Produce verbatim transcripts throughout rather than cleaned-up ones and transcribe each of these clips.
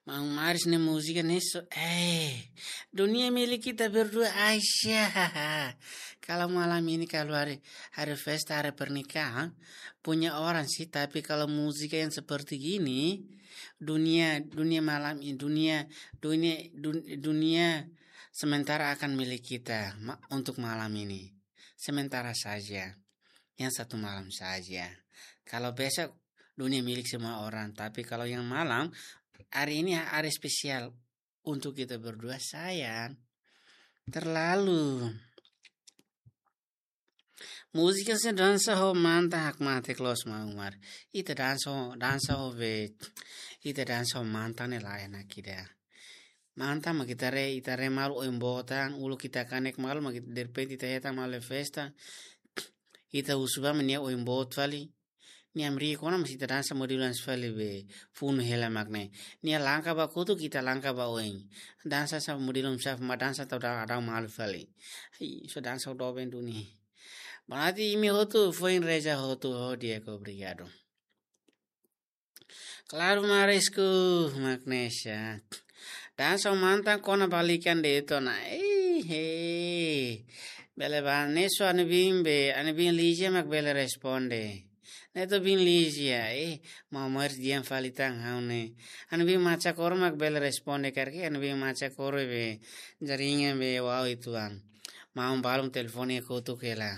Maun Maris ne'e múzika ne'e só, eh, dunia milik kita berdua, Aisyah. Kalau malam ini, kalau hari, hari festa, hari pernikahan, punya orang sih, tapi kalau múzika yang seperti gini, dunia, dunia malam ini, dunia, dunia, dun-, dunia sementara akan milik kita ma-, untuk malam ini. Sementara saja. Yang satu malam saja. Kalau besok, dunia milik semua orang. Tapi kalau yang malam, hari ini hari spesiál untuk kita berdua, sayang. Terlalu. Múzika se dansa ho mantan hakmatek loos, Maun Maris. Ita dansa ho, dansa ho be. Ita dansa ho mantan ne'e lae nakida. Mantan mak ita haree, ita haree malu oin boot an, uluk ita kanek malu mak ita derrepente ita hetan malu iha festa. Ita husu ba mak nia oin boot fali. Nia hamriik ona mós ita dansa modelu hanesan fali be, funu hela mak ne'e. Nia langka ba kotuk, ita langka ba oin. Dansa hanesan modelu hanesan mak dansa tau da-, dau malu fali. Ai, só dansa ho doben duni. Berarti imi hotu foin reza hotu ho Diego, obrigadu. Klaru Marisku, Magnesia. Dansa ho mantan kona balikan de'it ona. Ei, hei. Bele ba, ne'e só ami biin be, ami biin Lizia mak bele responde. Ne'e to'o biin Lizia, eh, Maun Maris di'ak fali tan ha'u ne'e. Ami biin Macha Koro mak bele responde karik, ami biin Macha Koro be, jaringan be, wau uitoan. Maun balu mak telefone kotuk hela.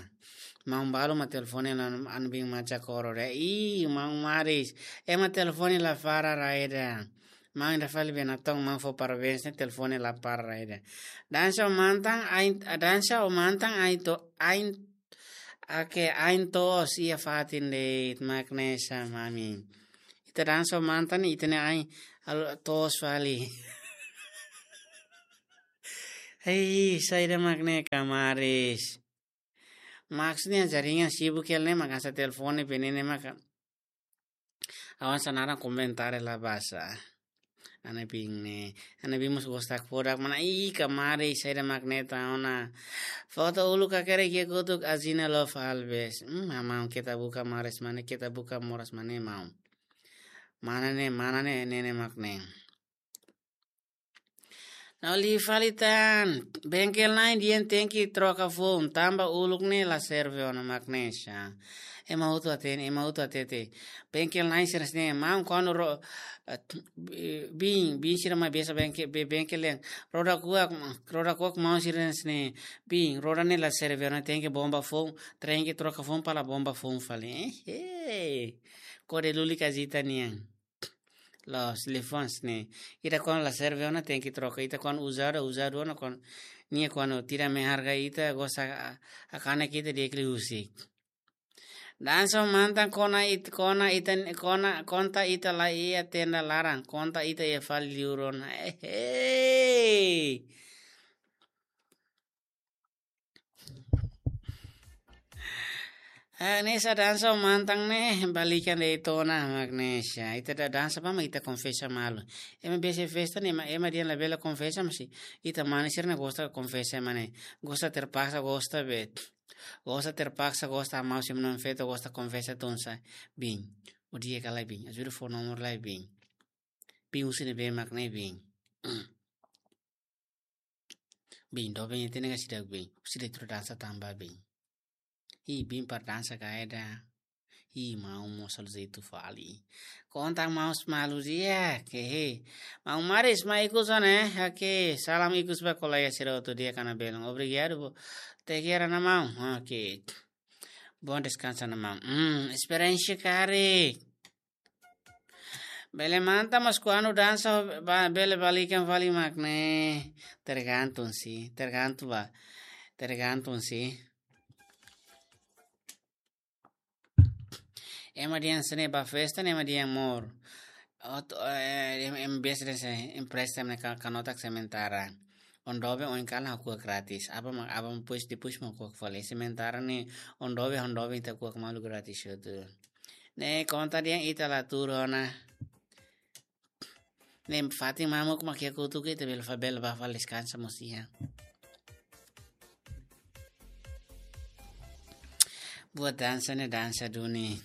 Maun balu mak telefone ona ami biin Macha Koro de'it. Ih, Maun Maris. Ema telefone la para rai ida. Maun ida fali be natoon, maun fó parabéns ne'e telefone la para rai ida. Dansa ho mantan ain, dansa ho mantan ain to, ain, ake ain toos iha fatin de'it, Magnesia, mami. Ita dansa ho mantan ne'e ita-nia ain alo toos fali. Hei, saida mak ne'e ka Maris. Maksudnya jaringan sibuk hela ne'e mak hanesan telefone be ne'e ne'e maka. Awan sanara komentar la basa. Ami biin ne'e, ami biin mós gosta fodak mana, ih, ka Maris saida mak ne'e ta ona. Foto uluk hakerek iha kotuk Azina Love Alves. Hmm, maun keta buka Maris mana, keta buka moras mana, maun. Mana ne'e, mana ne'e, ne'e ne'e mak ne'e. Ha'u liu fali tan, bengkel na'in dehan tenke troka foun, tanba uluk ne'e la serve ona, Magnesia. Ema hotu hatene, ema hotu hatete. Bengkel na'in sira hanesan ne'e, maun kuandu ro-, eh, biin, biin sira mai besa bengke-, be-, bengkel dehan. Roda kuak, roda kuak maun sira hanesan ne'e. Biin, roda ne'e la serve ona, tenke bomba foun, tenke troka foun para bomba foun fali. Eh, eh. Kode lulik Azita nian. Loos, telefone hanesan ne'e. Ita kuandu la serve ona tenke troka. Ita kuandu uzadu, uzadu ona kuandu nia kuandu tidak menghargai ita, gosta a-, a-, hakanek ita di'ak liu husik. Dansa ho mantan kona it-, kona ita, kona, konta ita la iha tenda laran, konta ita iha fali liur ona. Eh, hei. Eh, ne'e sá dansa ho mantan ne'e, balikan de'it ona, Magnesia. Ita ida dansa ba mak ita konfesa malu. Ema biasa festa ne'e, ema, ema dehan labele konfesa, mas ita mane sira ne'e gosta konfesa, mane. Gosta terpaksa, gosta be. Gosta terpaksa, gosta mau se menonfeto, gosta konfesa tunsa. Biin. O dia ka lai biin. Ajuda fó nomor lai biin. Biin husi ne'ebé mak ne'e biin. Biin, doben ita ne'e ka seidauk biin. Husi de'it atu dansa tanba biin. Ih, biin para dansa ka ida. Ih, maun mós aluze itu fali. Konta maun malu dia, ke he. Maun Maris, mai ikus ona, eh. Oke, salam ikus ba kolega sira hotu di'ak ka na belun. Obrigadu, bo. Te kera na maun. Oke. Bom descanso na maun. Hmm, esperiénsia karik. Bele mantan mas kuandu dansa ba, bele balikan fali mak ne'e. Tergantung sih, tergantung ba. Tergantung sih. Ema dehan hanesan ne'e ba festa ne'e ema dehan mor. Ot-, eh, em, em biasa dehan hanesan ne'e empresta ne'e ka-, kanotak sementara. Oin doben oin kalan ha'u kuak gratis. Aban mak, aban depois, depois mak kuak fali. Sementara ne'e oin doben, oin doben ita kuak malu gratis hotu. Ne'e konta dehan ita la tuur ona. Ne'e fatin mamuk mak iha kotuk ita bele fa-, bele ba fali deskansa mós iha. Buat dansa ne'e dansa duni.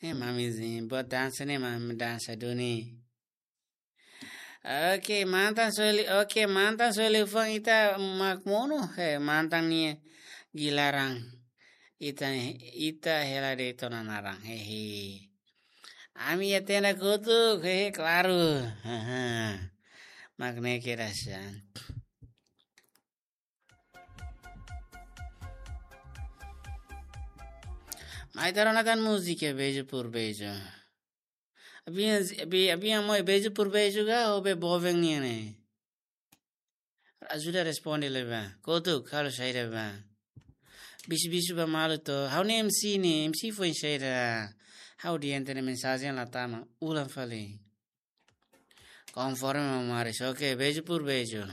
Eh, mamizinha, buat dansa ne'e mami dansa duni. Oke, mantan soe li-, oke, mantan soe liu fali ita mak monu, he, mantan nia gilaran. Ita, ita hela de'it ona naran, hehe. Ami iha tenda kotuk, hehe, klaru. Haha. Mak ne'e kedas an. Mai ita rona tan múzika Beijo por Beijo. Abin, abin, abin amoi Beijo por Beijo ka, ou be boven nian ne'e? Ajuda responde lai ba. Kotuk, halo saida ba. Bisu-bisu ba malu to. Ha'u ne'e M C ne'e, M C foin saida. Ha'u dehan ita-nia mensajen la tama. Ulang fali. Konforme Mamaris. Oke, Beijo por Beijo.